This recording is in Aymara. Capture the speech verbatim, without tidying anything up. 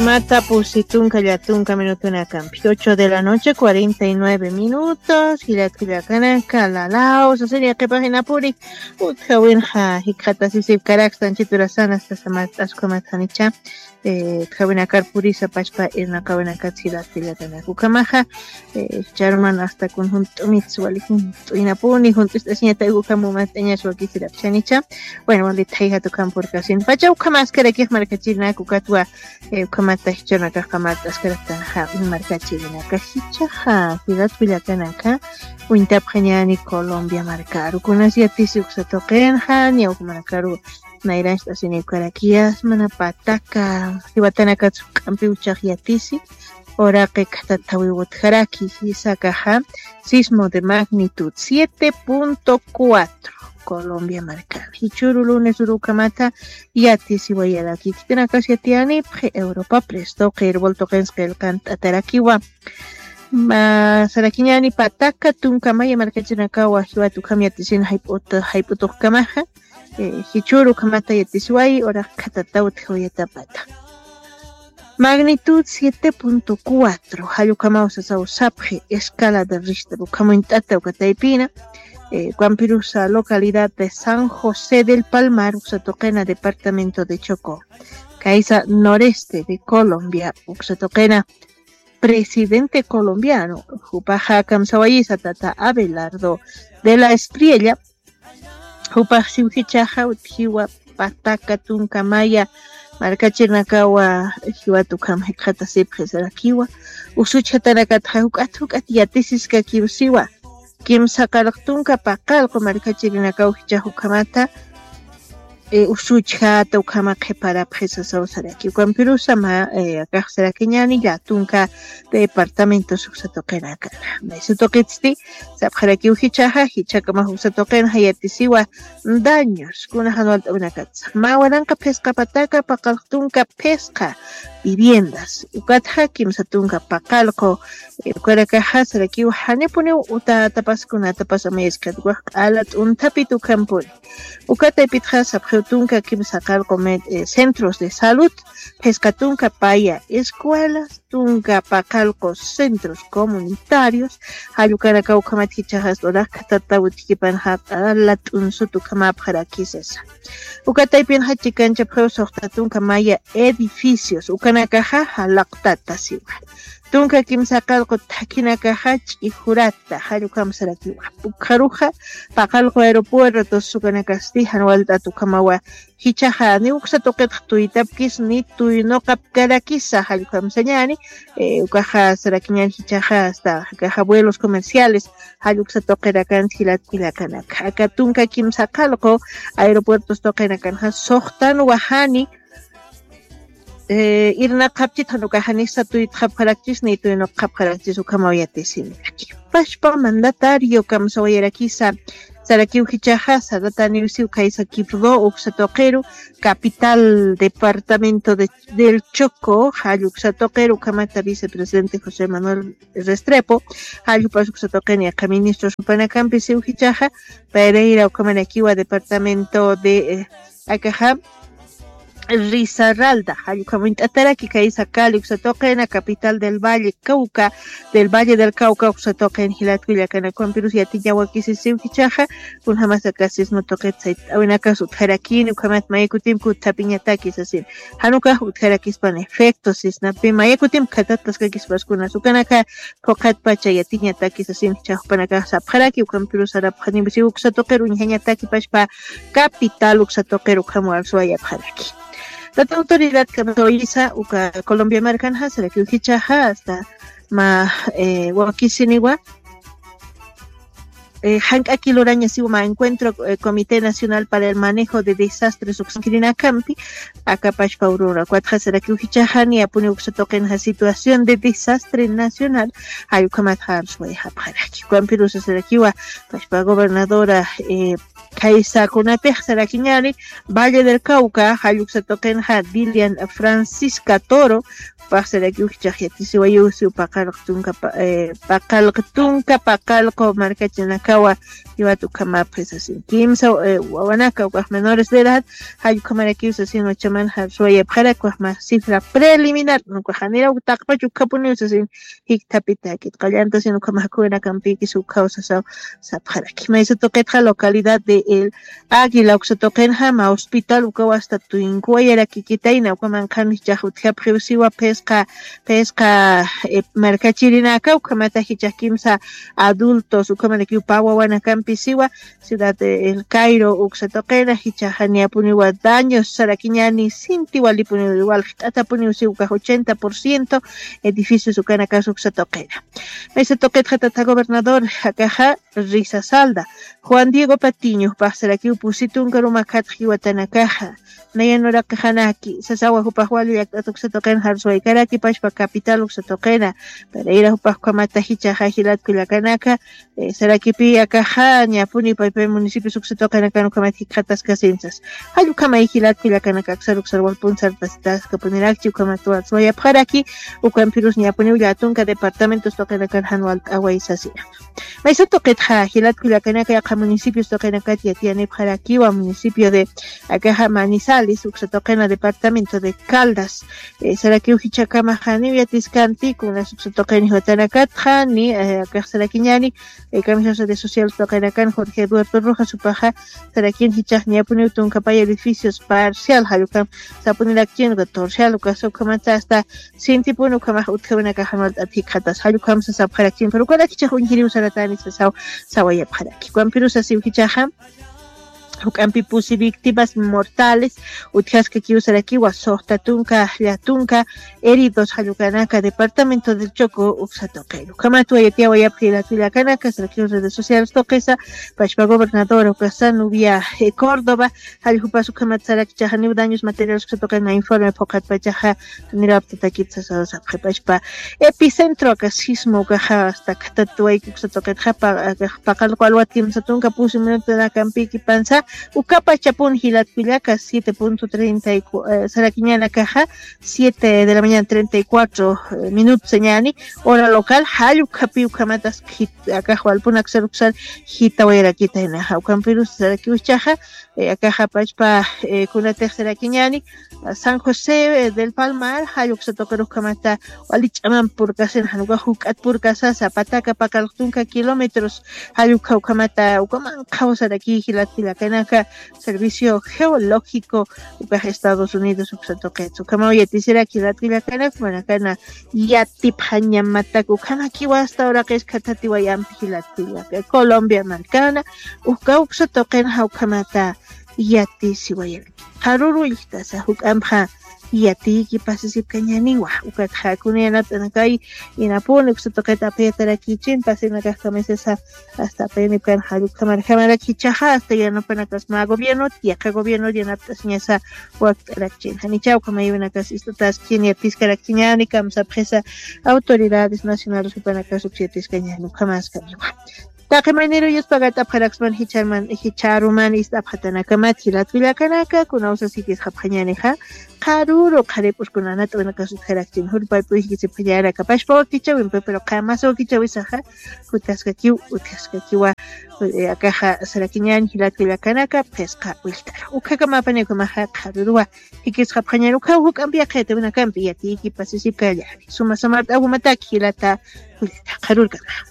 Mata pusi tunka llatunka minutunakampi, ocho de la noche, cuarenta y nueve minutos. Jilat kullakanaka, lalaw sasiri, qhipaxinapuri utjawinxa jikxatasisip karakstan chiturasan asta samart'askumat janicha. Utjawinakar purisa pachpa irnaqawinakat jilat kullakanaka, ukhamaxa charman asta kun junt'umits wali junt'uynapuni junt'ust'asiñatak ukham umat'añas wakisirapchanicha. Bueno, wali thayjat ukham purkasin pacha ukhamaskarakix markachirinaka ukatwa. Ukhamata jichhanakax qamart'askaraktanxa markachirinaka jichhaxa jilat kullakanaka. Uñtapxañani Colombia markaru kunas yatisi uksa tuqinxa niya ukhamarakaru. Nayrancht'asini ukarakiyas mana pataka jiwatanakatsu q'ampiw chax yatisi. Uraqi khatathawiw utjaraki jisakaxa sismo de magnitud siete punto cuatro. Colombia markar jichhuru lunes urukhamata yatisiwayaraki khitinakas yatiyanipxi europa presto qirwal tuqins qillqant'atarakiwa. Sarakiñani pataka tunkamaya markachinakawa jiwat ukham yatisina jayp'utuxkamaxa. Jichhuru ukhamata yatisiwayi uraq khatataw utjawayatapata. Magnitud siete punto cuatro jallukamaw sasaw sapxi escala de rista ukhamuñt'ata ukataypina. Ukampirusa localidad de san josé del palmar uksa tuqina departamento de chocó. Kaysa noreste de colombia uksa tuqina presidente colombiano jupaxa kamsawayisa tata abelardo de la espriella. Jupax siwjichaxa utjiwa pataka tunka maya markachirnakawa jiwat ukham jikxatasipxi sarakiwa. Usuchjatanakatxa juk'at juk'at yatisiskakiw siwa kimsa qaraq tunka paqallqu markachirinakaw jichax ukhamata. Usuchjata ukhama qhiparapxi sasaw saraki ukampirusa mä akax sarakiñani llatunka departamentos uksa tuqinakana. Maysa tuqitsti sapxarakiw jichhaxa jichhakamax uksa tuqinxa yatisiwa daños kuna jan walt'awinakatsa mä waranqa phisqa pataka paqallq tunka phisqa viviendas ukatxa kimsa tunka paqallqu. Ukarakaxa sarakiw janipuniw utatapas kunatapas amayaskhat ukax q'ala t'unthapit ukhampuni. Uka taypitxa sapxiw tunka kimsa qallqu centros de salud, phisqa tunka paya escuelas, tunka paqallqu centros comunitarios. Jallukanaka ukhamat jichhaxas uraq khatata utjikipanxa q'ala t'unsut ukhamapxarakisasa. Uka taypinxa chikanchapxiw suxta tunka maya edificios ukanakaxa jalaqtata siwa. Tunka kimsa qallqu thakhinakaxa ch'ijurata jallukhamsarakiwa. Ukxaruxa paqallqu aeropuertos ukanakasti jan walt'at ukhamawa. Jichhaxa ni uksa tuqitx tuytapkis ni tuynuqapkarakisa jallukhamsañani. Ukaxa sarakiñani jichhaxa asta akaxa vuelos comerciales jalluksa tuqirakan jilat kullakanaka aka tunka kimsa qallqu aeropuertos tuqinakanxa suxtan wajani. Irnaqxapchit jan ukaxa ni satuytxapxarakchis ni tuynuqxapxarakchis ukhamaw yatisiniraki. Pashpa mandatario kamsawayarakisa sarakiw jichhaxa sarataniwsiw kaysa kipdo uksa tuqiru capital departamento del choco jalluksa tuqiru ukhamata vicepresidente josé manuel restrepo. Jallupas uksa tuqini aka ministros jupanakampi siw jichhaxa pereira ukhamanakiwa departamento de akaxa risaralda jallukhamuñt'ataraki kaysa cali uksa tuqina capital del valle cauca del valle del cauca uksa tuqin jilat kullakanakumpirus yatiñawakisisiw jichhaxa. Kunjamasa kasisma tuqit sayt'awinakas utjarakini ukhamat maykutimpi utthapiñataki sasin. Jan ukax utjarakispan efecto sisnapi maykutimpi khatataskakispas kunas ukanaka phuqhatpacha yatiñataki sasin jichhax jupanakax sapxaraki ukampirus sarapxanimpisiw uksa tuqir uñjañataki pashpa capital uksa tuqir ukham walsuwayapxaraki. Tata autoridad kamsawayisa uka colombia markanxa sarakiw jichhaxa asta mä wakisiniwa jank'aki lurañasiwa mä encuentro comité nacional para el manejo de desastres uksankirinakampi. Akapashpa urura ukatxa sarakiw jichhaxa niyapuni uksa tuqinxa situación de desastre nacional jallukhamatxa arsuwayxapxaraki ukampirusa sarakiwa pashpa gobernadora kaysakunapix sarakiñani valle del cauca jalluksa tuqinxa dilian francisca toro. Paxsarakiw jichhax yatisiwayusiw paqalq tunka paqalq tunka paqalqu markachinaka. Kawa, iwat ukhamapxi sasin kimsa wawanaka ukax menores de edad. Jallukhamarakiw sasin wachaman jarsuwayapxarak wajma cifra preliminar, ukaxanira uktaqpach ukhapuniw sasin. Jiktapitakit qallantasin ukhamakuwinakampikis ukhaw sasaw. Sapxaraki maysa tuqitxa localidad de el águila uksatuqinxa ma hospital ukaw asta tuynkuwayarakikitayna ukamanqhan jichax utjapxiw siwa phisqa phisqa markachirinaka ukhamata jichax kimsa adultos ukhamarakiw pä wawanakampi siwa. Ciudad de el cairo uksatuqina jichaxa niyapuniwa daños sarakiñani sinti walipuniw walqt'atapuniw siwa ukax ochenta por ciento edificios ukanakas uksatuqina. Maysa tuqitxa tata gobernador akaxa risasaldä juan diego patiño paqsarakiw pusi tunka ruma khatxi watanakaxa. Nayan uraqixanaki sasawa jupax wali llakt'at uksatuqina jarsuwaykaraki pachpa capital uksatuqina. Parayra jupax ukhamata jichaxa jilatku llakanaka sarakipi akaxa ñapuni paypay municipios uksatuqinakan ukhamat jikxataskasinsas. Jallukhamay jilatku llakanaka aksar uksar walpun sartasitaskapuniraki ukhamat jarsuwayapxaraki. Ukampirus ñapuniw llatunka departamentos tuqinakan jan walt'away sasina. Maysa tuqitxa jilatku llakanaka yaqha municipios tuqinakat yatiyanipxarakiwa municipio de akaxa manizales uksatuqina departamento de caldas. Sarakiw jichhakamaxaniw yatiskanti kunas uksatuqini watanakatxa ni akax sarakiñani. Kamisas de sociales tuqinakan jorge eduardo rojas upaxa sarakin jichhax niyapuniw tunkapaya edificios parcial jallukam sapunirakchin torcial ukasa ukhamata asta sintipuni ukhamax utjawinakaxan walt'at jikxatas jallukhamsa sapxarakchin pero ukanakichax uñjiriw saratani sasaw. Sawayapxaraki ukampirus asiw jichhaxa juk'ampi pusi víctimas mortales utjaskakiw sarakiwa soxta tunka llatunka heridos jallukanaka departamento del choco uksatuqin ukhamat wayatiyawayapxi latwillakanaka sarakiw redes sociales tuqisa. Pachpa gobernadora ukasa nubia córdoba. Jalljupas ukhamat sarakichaxa niw daños materiales uksatuqina informe phuqhatpachaxa niraptatakit sasaw sapxi pachpa epicentro aka sismo ukaxa asta khatatuwayki uksatuqitxa paqalqu alwat kimsa tunka pusi minutunakampiki pansa. Ukapachapun jilatkullaka siete punto treinta y sarakiñanakaxa siete de la mañana treinta y cuatro minutos ñani hora local jallukhapi ukhamatas. Akax walpunak saruksar jitawayarakitaynaxa ukampirus sarakiw jichhaxa. Akaxa pachpa kunatix sarakiñani san josé del palmar jalluksa tuqirukhamata wali ch'aman purkasin jan ukax juk'at purkasasa pataka paqalqtunka kilómetros. Jallukha ukhamata ukaman qhawsaraki jilatkullakanaka servicio geológico ukax estados unidos uksa tuqitsa ukhamaw yatisiraki jilatkullakanak manakana yatipxañamatak ukhamakiwa asta uraqis khathatiwayampi jilatkullaka colombia markana. Uka uksa tuqinxa ukhamata yatisiwayaraki qharuru illtasa juk'ampxa yatiyki pasisipkañaniwa. Ukatxa kuna yanapt'anakay inapuni uksa tuqita apayatarakichin pasinakax kamisasa asta apayanipkan jallukhamarjamarak jichhaxa asta yanapanakas mä gobiernot yaqha gobiernot yanapt'asiñasa. Wakt'arakchin janicha ukhamayawinakas ist'ataskchin yatiskarakchiñani kamsapxisa autoridades nacionales jupanakas uksiyatiskañani ukhamaskaniwa. Taqi mayniru yuspagat'apxaraksman jichharuman ist'apxatanakamat jilatkullakanaka kunawsas jikisxapxañanixa. Qharuru qharip'uskunanat'awinakas utjarakchin jurpaypuy jikisipxañanaka pachpa wakichawimpi pero qamasa wakichawisaxa. Jutkaskakiw utkaskakiwa akaxa sarakiñan jilatkullakanaka phisqa willt'aru ukhakamapanikumaxa qharuruwa. Jikisxapxañan ukhaw juk'ampi yaqhayatawinakampi yatiyki pasisipkallani suma samart'awumataki jilata. Willt'a qharurkana.